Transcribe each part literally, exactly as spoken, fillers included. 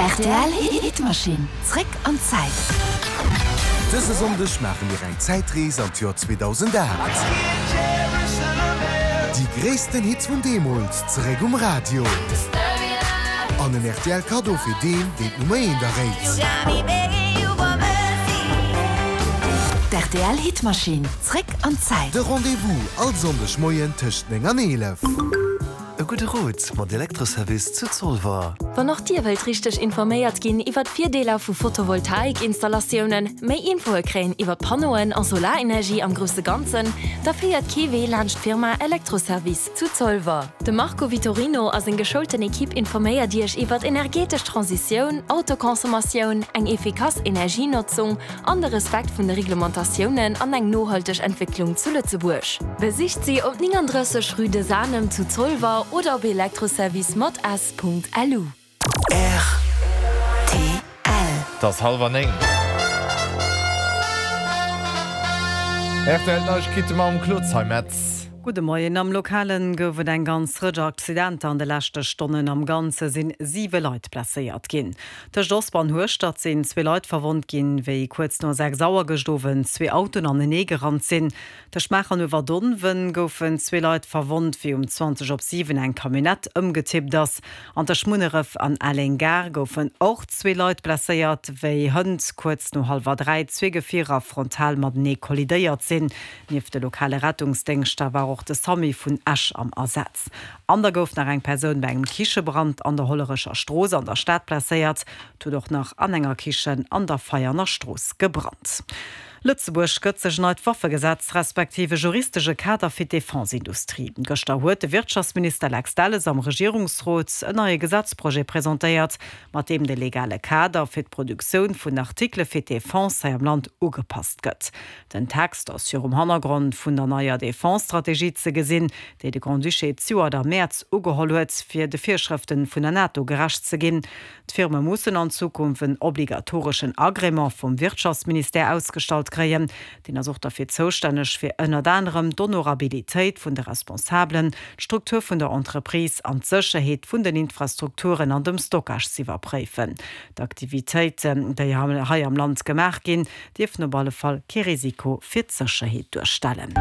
Rtl Hitmaschinn, zréck an d'Zäit. Dëse Sonndeg maache mir eng Zäitrees an d'Joer zweedausendacht. Déi gréissten Hits vun deemools zeréck um Radio. An en R T L Kaddo fir deen, deen d'Nummer eent erréit. D'R T L Hitmaschinn, zréck an d'Zäit. De Rendez-vous all Sonndeg Moien tëscht néng an eelef. E gudde Rot mat Elektroservice zu Zolwer. Wann och Dir wëllt richteg informéiert ginn iwwer d'Virdeeler vu Photovoltaikinstallatiounen, méi Infoe kréien iwwer Panneauen a Solarenergie am grousse Ganzen, da féiert kee Wee laanscht d'Firma Elektroservice zu Zolwer. De Marco Vitorino a seng geschoulten Ekipp informéiert Iech iwwer energetesch Transitioun, Autoconsommatioun, eng efficace Energienotzung an de Respekt vun de Reglementatiounen an eng nohalteg Entwécklung zu Lëtzebuerg. Besicht si op neununddrësseg Rue de Sanem zu Zolwer oder op elektroservice mat s Punkt L U. R T L. Et ass hallwer néng. R T L Neiegkeete mam Claude Zeimetz. Gudde Moien. Am Lokalen gouf et eng ganz Rëtsch Accidenter an de leschte Stonnen. Am Ganze sinn siwe Leit blesséiert ginn. Tëscht Osper an Hueschtert sinn zwee Leit verwonnt ginn, wéi kuerz no sechs Auer gëscht Owend zwee Autoen anenee gerannt sinn. Tëscht Maacher an Uewerdonwen goufen zwee Leit verwonnt, wéi um zwanzeg op siwen eng Camionnette ëmgetippt ass. An tëscht Munneref an Aleng-Gare goufen och zwee Leit blesséiert, wéi hënt kuerz no hallwer dräi zwee Gefierer frontal matenee kollidéiert sinn. Nieft de lokale Rettungsdéngschter war och de SAMU vun Esch am Asaz. An da gouf nach eng Persoun bei engem Kichebrand an der Hollerecher Strooss an der Stad blesséiert. Et huet och nach an enger Kichen an der Veianer Strooss gebrannt. Lëtzebuerg gëtt sech en neit Waffegesetz respektiv e juristesche Kader fir d'Defense-Industrie. Gëschter huet de Wirtschaftsminister Lex Delles am Regierungsrot en neie Gesetzprojet presentéiert, mat deem de legale Kader fir d'Produktioun vun Artikele fir d'Defense hei am Land ugepasst gëtt. Den Text ass virum Hannergrond vun der neier Defense-Strategie ze gesinn, déi de Grand-Duché zejoert am Mäerz ugeholl huet, fir de Virschrëfte vun der NATO gerecht ze ginn. D'Firme mussen an Zukunft en obligatoreschen Agrément vum Wirtschaftsministère ausgestallt kréien. Deen ass och derfir zoustänneg fir ënnert anerem d'Honorabilitéit vun de Responsabelen, d'Struktur vun der Entreprise an d'Sécherheet vun den Infrastrukturen an dem Stockage z'iwwerpréifen. D'Aktivitéiten, déi hei am Land gemaach ginn, dierfen op alle Fall kee Risiko fir d'Sécherheet duerstellen.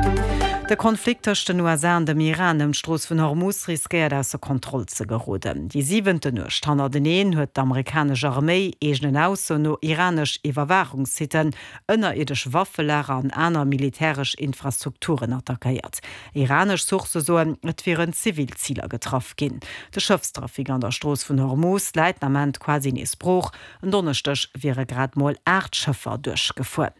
De Konflikt tëscht den U S A an dem Iran ëm d'Strooss vun Hormuz riskéiert ausser Kontroll ze geroden. Déi siwente Nuecht hannerteneen huet d'amerikanesch Arméi eegenen Aussoen no iranesch Iwwerwaachungssitten, ënnerierdesch Waffelager an aner militäresch Infrastrukturen attackéiert. Iranesch Sourcë soen, et wieren zivil Ziler getraff ginn. De Schëffstrafic an der Strooss vun Hormuz läit den Ament quasi nees brooch. En Donneschdeg wiere grad mol aacht Schëffer duerchgefuer.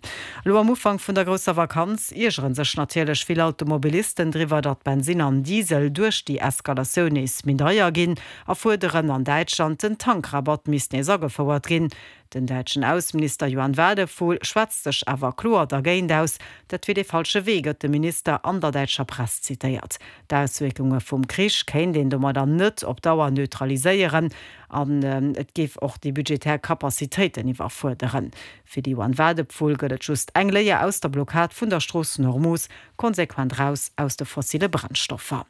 Elo am Ufank vun der grousser Vakanz iergere sech natierlech vill Automobilisten driwwer, datt Bensin an Diesel duerch déi Eskalatioun nees méi deier ginn a fuerderen an Däitschland, den Tankrabatt misst nees agefouert ginn. Den däitschen Ausseminister Johann Wadephul schwätzt sech awer kloer dergéint aus. Dat wier de falsche Wee, gëtt de Minister an der däitscher Press zitéiert. D'Auswierkunge vum Krich kéint een domadder net op Dauer neutraliséieren an et géif och déi budgetär Capacitéiten iwwerfuerderen. Fir de Johann Wadephul gëtt et just eng Léier aus der Blockad vun der Strooss vun Hormuz, konsequent raus aus de fossile Brennstoffer.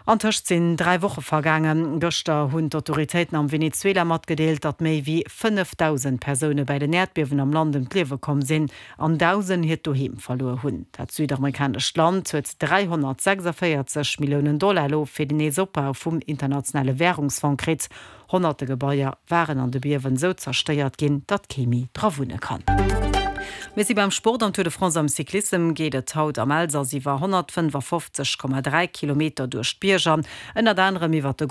Antëscht sinn dräi Woche vergaangen. Gëschter hunn d'Autoritéiten am Venezuela matgedeelt, datt méi wéi fënnefdausend Persoune bei den Äerdbiewen am Land ëm d'Liewe komm sinn an Dausend hiert Doheem verluer hunn. Dat südamerikanescht Land huet dräihonnertsechsundvéierzeg Milliounen Dollar elo fir den Neesopbau vum Internationale Wärungsfong kritt. Honnerte Gebaier waren an de Biewen esou zerstéiert ginn, datt kee méi dra wunne kann. Mir si beim Sport. Am Tour de France am Cyclissem geet et haut am Elsass iwwer honnertfënnefofzeg Komma dräi Kilometer duerch d'Bierger, ënnert anerem iwwer de